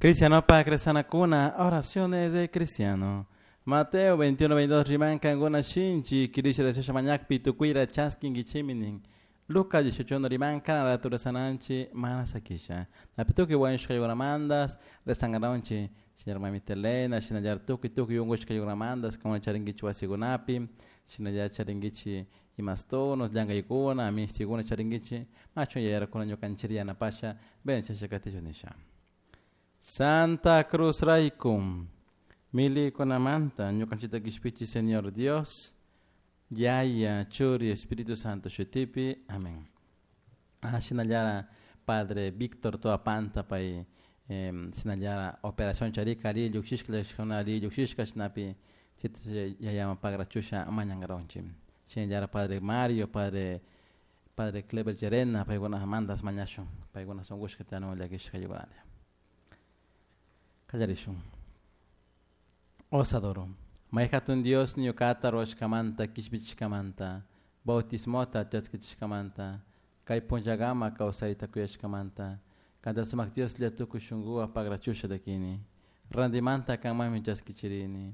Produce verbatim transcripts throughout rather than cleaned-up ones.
Cristiano pa oraciones de cristiano. Mateo veintiuno veintidós riman kankuna shinchi kirisha rezasha mañakpi tukuyta chaskinkichiminin. Lucas dieciocho uno riman kana rezananchi mana sakisha. Napi tukuy wañushkaykunamantas rezankaranchik shinallar mamita Elena, shinallar tukuy tukuy unkushkaykunamantas como charinkichik wasikunapi, shinallar charinkichik imastonos, llankaykuna, mishtikuna charinkichik, machun yayarakuna ñukanchik yanapasha, bendiciasha katichun nisha. Santa Cruz raykum, milikunamanta, ñukanchikta kishpichi Señor Dios, Yaya, Churi, Espíritu Santo, shutipi, amén. Ah, shinallara Padre Víctor Toapanta pay eh, shinallara operación charika ari llukshishka llakishkuna ari llukshishka shinapi chita yayama pagrachusha mañankaronchik. Shinallara Padre Mario, Padre Padre Clever Llerena, paykuna mandas mañashun, paykuna sunqushka tiyanu llakishka yukunalla. Kallarishun. Os adoro. May hatun Dios ñuqata ruwashkamanta kishpichishkamanta, bautismota chaskichishkamanta, kay punllakama kawsayta kuyashkamanta, kanta sumak Dioslla tukuy shunkuwan pagrachusha takini, rantimanta kanmanmi chaskichirini.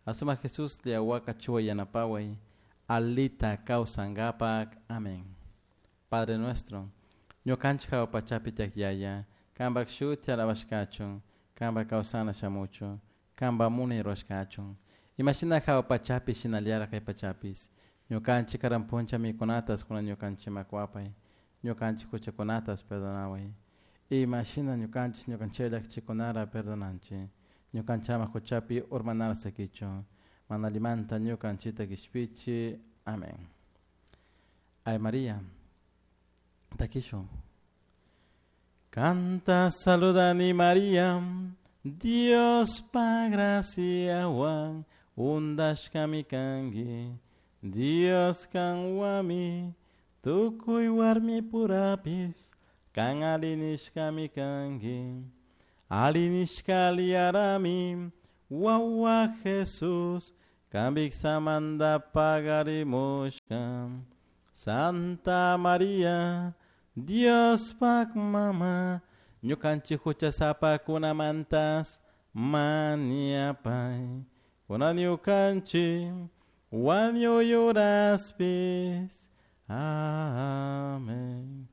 Asumak Jesuslla wakachuway yanapaway, alita kawsankapak. Amén. Padre nuestro, ñukanchik hawa pachapi tiyak Yaya, kanpak shuti alabashkachun, kanpak kawsana shamuchun, kanpak munay ruwashkachun. Imashina hawa pachapi shinallara kay pachapis, ñukanchik karan puncha mikunatas kunan ñukanchikman kuwapay, ñukanchik huchakunatas perdonaway. Imashina ñukanchik ñukanchik llakichikunara perdonanchik, ñukanchik ama huchapi urmanara sakichun, mana allimanta ñukanchikta kishpichi. Amén. Ave María, takishun. Canta saludani María, Dios pa graciawan undashkami kanki, Dios kanwami, tukuy warmi purapis, kan alinishkami kanki, alinishka aliyarami, wawa Jesús, kanpik samanta pagarimushka. Santa María, Dios pak mama, ñukanchik huchasapakunamantas mañapay, kunan ñukanchik wañuyuraspis. Amén.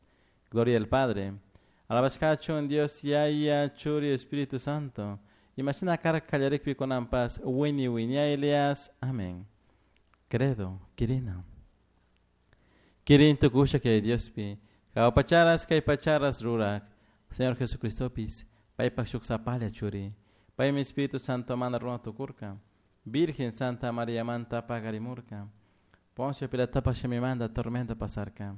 Gloria al Padre. Alabashkachun Dios Yaya, Churi, Espíritu Santo. Imashina karka kallarikpi kunanpas wini wiñaylias. Amén. Credo, kirina. Kirin tukusha kay Diospi. Hawa pacharas kay pacharas rurak. Señor Jesucristopis, paypak shuk sapalla churi. Paymi Espíritu Santo mana runa tukurka. Virgen Santa María manta pagarimurka. Poncio Pilatopak shimimanta tormento pasarka.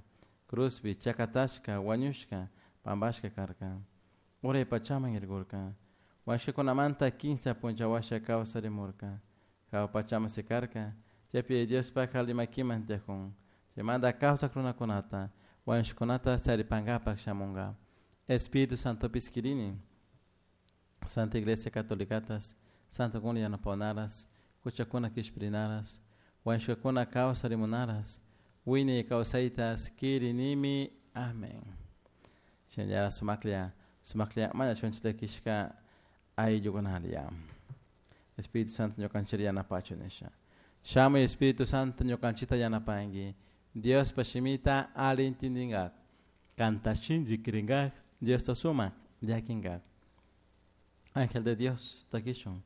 Cruzpi chakatashka, wañushka, pampashka karka. Uray pachaman irkurka. Wañushkakunamanta kimsa puncha washa kawsarimurka. Hawa pachaman sikarka. Chaypi Diospak alli makiman tiyakun. Chaymanta kawsak runakunata, wañushkakunata taripankapak shamunka. Espíritu Santopis kirini. Santa Iglesia Catolicatas, Santo kuna yanapawanaras, huchakuna kishpirinaras, wañushkakuna kawsarimunaras, wiñay kawsaytas kirinimi. Amén. Shinallara sumaklla, sumaklla mañashunchik llakishka ayllukunalla. Espíritu Santo ñukanchik yanapachun nisha. Shamuy Espíritu Santo ñukanchikta yanapanki. Diospa shimita alli intindinkak. Kanta shinchi kirinkak, Diosta sumak llakinkak. Ángel de Dios, takishun.